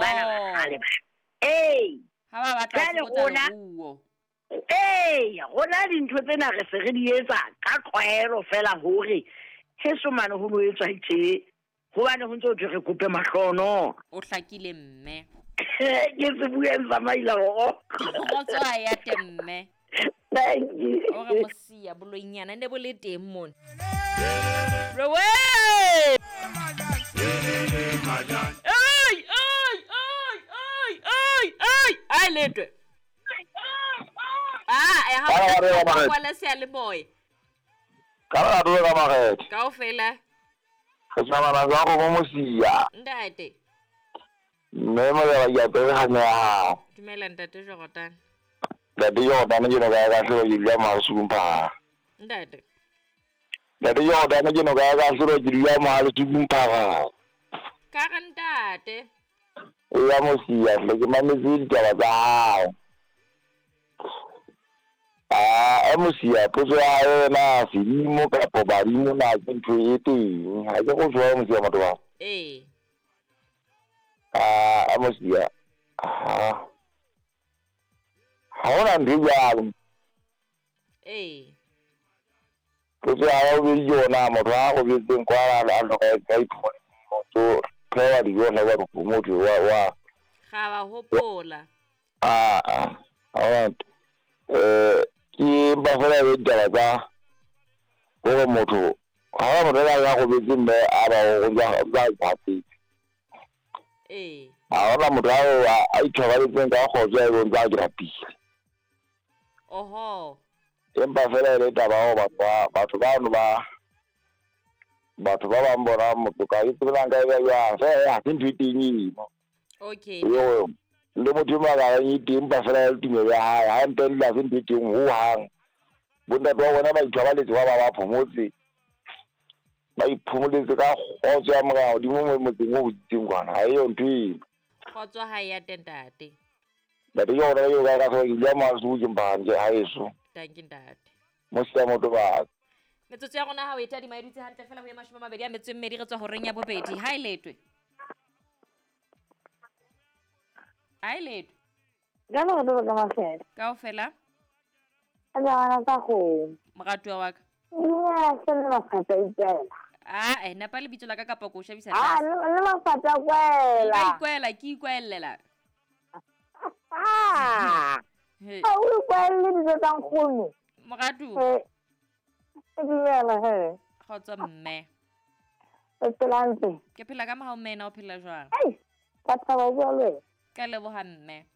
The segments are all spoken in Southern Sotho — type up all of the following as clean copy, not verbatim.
Bana ba kgale ba. Ee. Ha ba batla Jwale ho fokotsa rona- leruo. Ee, rona dintho tsena re se re di etsa ka tlwaelo fela hore heso mane ho no etswa tje. Hobane ho ntse ho thwe re kope mahlono. O hlakile mme. Ke se bueng sa maila horo. Kgotso ha ya te mme. Thank you. O re mosia boloinyana ne bo le teng mona. Rewe! Ai ai ai ai ai ai ai letwe. Ah, eh ha Ba re o ba re. kwala seyalemoya. Ka re dula ka makgethe. Kaofela Re tsamana jwang go mosia. ntate. Mme moleba ke apere kganya ya hao. Dumela ntate Jordan. Ntate Jordan ke noka ya kahlolo ke dula Mohalesuku Mphaka. Ntate. Ntate Jordan ke noka ya kahlolo ke dula Mohalesuku Mphaka. Ka re ntate. Eya mosia hle ke mametse ditaba tsa hao. Ah, mosia potso ya hao na sedimo kapa badimo na ke ntho e teng. Ha ke go jwa mosia motho wa. Ee. Ah, mosia. Ah. Ha hona ntho e jwalo. Ee. Potso ya hao bobedi ke yona motho a robetseng kwa a hloka ka iphumane motho phewa dijo hla wa motho wa wa Ga ba hopola. a a ha ke mpa fela e be ditaba tsa hore motho ha hona motho a robetse mme a ba o ba hapetse. Ee. Ha hona motho a ithobaletseng ka kgotso a e ntse a ke rapile. Oho. Empa fela e le taba ya hore batho bano ba batho ba bang bona motho ka ke tsebe na nka e beha jwang fela ha se ntho e teng eno. Okay. Eo le motho e mong a ka reng e teng empa fela ya le tumelo ya hae ha ntle le ha se ntho e teng hohang. Bontate ba bona ba ithobaletse ba ba phomotse. Ba iphomoletse ka kgotso ya Morena hodimo motseng o hoditseng kwana. Ha eyo ntho eno. Kgotso ha ya te ntate. Ntate ke hona eo ka ka ke dula Mohalesuku ke Mphaka haeso. Dankie ntate. Mosia motho ba. Metsotso ya rona ha o e tadima e dutse hantle fela ho ye 28 re tswa horeng ya bobedi. Ha e letwe. Ha e letwe. Ka re dula ka makgethe. Kaofela. A jana ka kgomo. Moratuwa wa ka. Dumela hle mme Mafata ikwela. Ah, eh napa lebitso la ka kapa ko o shebisa Ah, tlase. mme Mafata kwela. Ka ikwela, ke ikwellela. Ah. He. Ha o ikwelle dijo tsa nkgono. Moratuwa. Eh. Dumela he. Kgotso mme. O phela hantle? Ke phela ka mohau mme, na o phela jwang? Ai, ka thaba ho bua le wena. Ka leboha mme.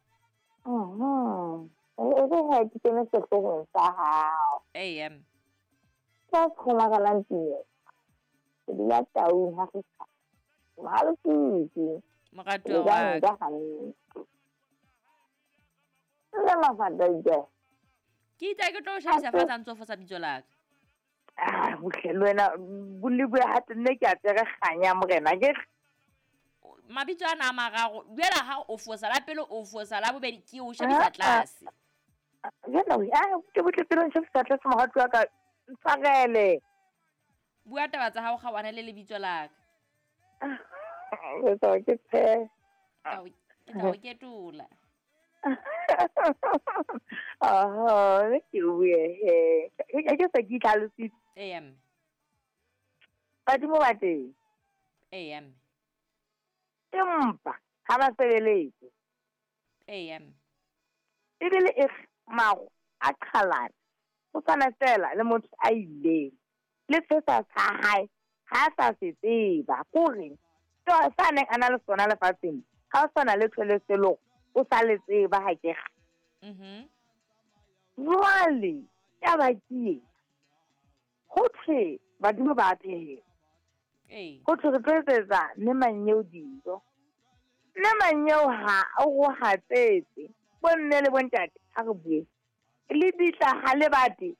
Mhm. E re ha ke kene sehloohong sa hao. Ee, mme. Ka kgomagalang teng. Ke dula Taung ha re Mohalesuku. Moratuwa wa ka. Ka hantle. Mme Mafata ikwela. Ke itse ke tlo o shebisa fatshe ha ntse o fosa bitso la ka. Ah, bohle le wena bolebue hape nne ke a tsere kganya morena ke Mabitso ana a mararo jwale ha o fosa la pele o fosa la bobedi ke o shebisa tlase. Jwale ah ke botle pele o nshebisa tlase moratuwa wa ka ntshwarele. Bua taba tsa hao kgaohane le lebitso la ka. Ke tla ke tshe. Ke tla o ketola. Aha, ne ke bue he. Ke se ke itlhalositse. Ee, mme. Badimo ba teng. Ee, mme. Empa ha ba sebeletse. Ee, mme. Ebile e mago a qhalana. O tshwana fela le motho a ileng. Le se sa sa hae ha sa se tseba. Kore sa neng a na le sona lefatsheng. Ha o sana le thole selo o sa le tseba ha ke re. Mhm. Jwale taba ke e. Ho thwe badimo ba a phehelwa. Ee. Ho thwe re tlo etsetsa mme Manyeo dijo. Mme Manyeo ha o go hatsetse. Bo mme le bontate ha re bue. Le bitla ha le bate.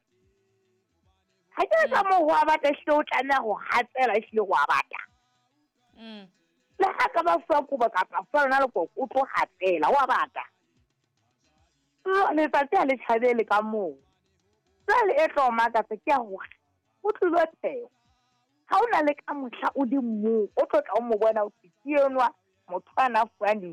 Ha ke ka moo ho a bata ehlile o tlameha ho hatsela ehlile ho a bata. Le ha ka ba fuwa kobo kapa fuwa lona lekoko o tlo hatsela ho a bata. Letsatsi ha le tjhabele ka moo. Jwale e tlo makatsa ke ya hore o tlilo phehwa. Ha o na le ka mohla o le mong o tlo tla o mo bona o ke enwa motho a na fuwang dijo.